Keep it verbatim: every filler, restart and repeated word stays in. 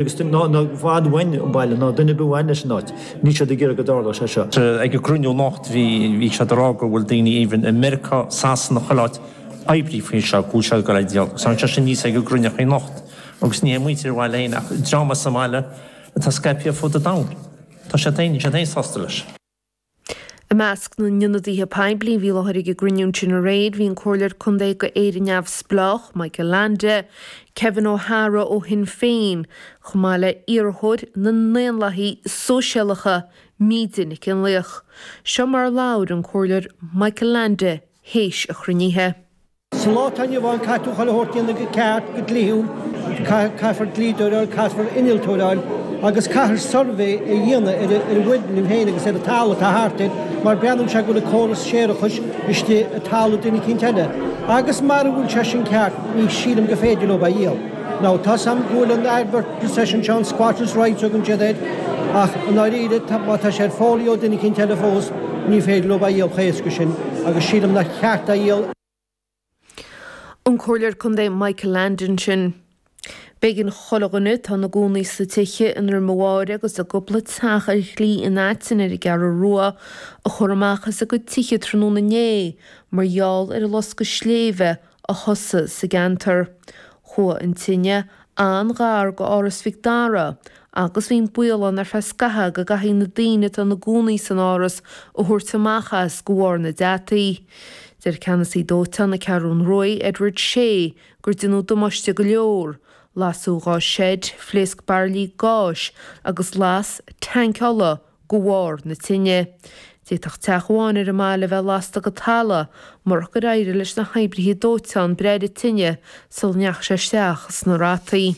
Agus ná i bhfad uainn an baile, ná duine ar bith uainn leis an áit, níl siad ag iarraidh go dtarlódh sé seo. Ag an gcruinniú anocht bhí bhí siad ag rá go bhfuil daoine even i Meiriceá, Sasana, chuile áit oibrí faoi seo, go bhfuil siad ag dul a dhíol. Agus tháinig sé sin aníos ag an gcruinniú anocht agus ní hé muintir an bhaile féin ach dream as an mbaile atá scaipthe ar fud an domhain. Tá siad féin, níl siad féin sásta leis. I measc na n-ionadaithe poiblí a bhí i láthair ag an gcruinniú ansin aréir bhí an Comhairleoir Contae go Éire Neamhspleách, Michael Leainde, Kevin O'Hara ó Shinn Féin, chomh maith le iarrthóir na nDaonlathaithe Sóisialacha, Míde Nic Fhionnlaoich. Seo mar a labhair an Comhairleoir Michael Leainde théis an chruinnithe. Sa lá atá inniu ann, caithfidh tú chuile shórt a dhéanamh go ceart, go dlíthiúil, caithfear dlíodóir a fháil, caithfear innealtóir a fháil agus caithfear suirbhé a dhéanamh ar an bhfoirgneamh féin agus ar an talamh atá thart air mar breathnaíonn sé go bhfuil an córas séarachais istigh i dtalamh duine eicínt eile. Agus mara bhfuil sé sin ceart, ní sílim go féidir leo é a dhíol. Now, tá's a'm go bhfuil an advert possession seo, an squatters rights a thugann siad air, ach i ndáiríre, má tá sé ar fólaí ó duine eicínt eile fós, ní féidir leo é a dhíol chomh héasca sin agus sílim nár cheart é a dhíol. An Comhairleoir Contae Michael Leainde ansin. B'éigean chuile dhuine atá ina gcónaí sna tithe i nDroim a' Bháire agus i gcúpla teach ar Shlí an Aitinn ar an gCeathrú Rua a chur amach as a gcuid tithe tráthnóna inné mar gheall ar an loscadh sléibhe a thosaigh sa gceantar. Chuaigh an tine an-ghar go Áras Mhic Dara agus bhí an baol ann ar feadh scaithimh go gcaithfí na daoine atá ina gcónaí san áras a thabhairt amach as de bharr na deataí. Deir ceannasaí dóiteáin na Ceathrún Ruaidh, Edward Shea, gur déanadh damáiste go leor, lasadh dhá seid, phléasc bairillí gáis agus las tanc ola de bharr na tine. D'fhéadfadh teach amháin ar an mbaile a bheith lasta go talamh murach gur éirigh leis na hoibrithe dóiteáin breith ar an tine sula ndeachaigh sé isteach sna rataí.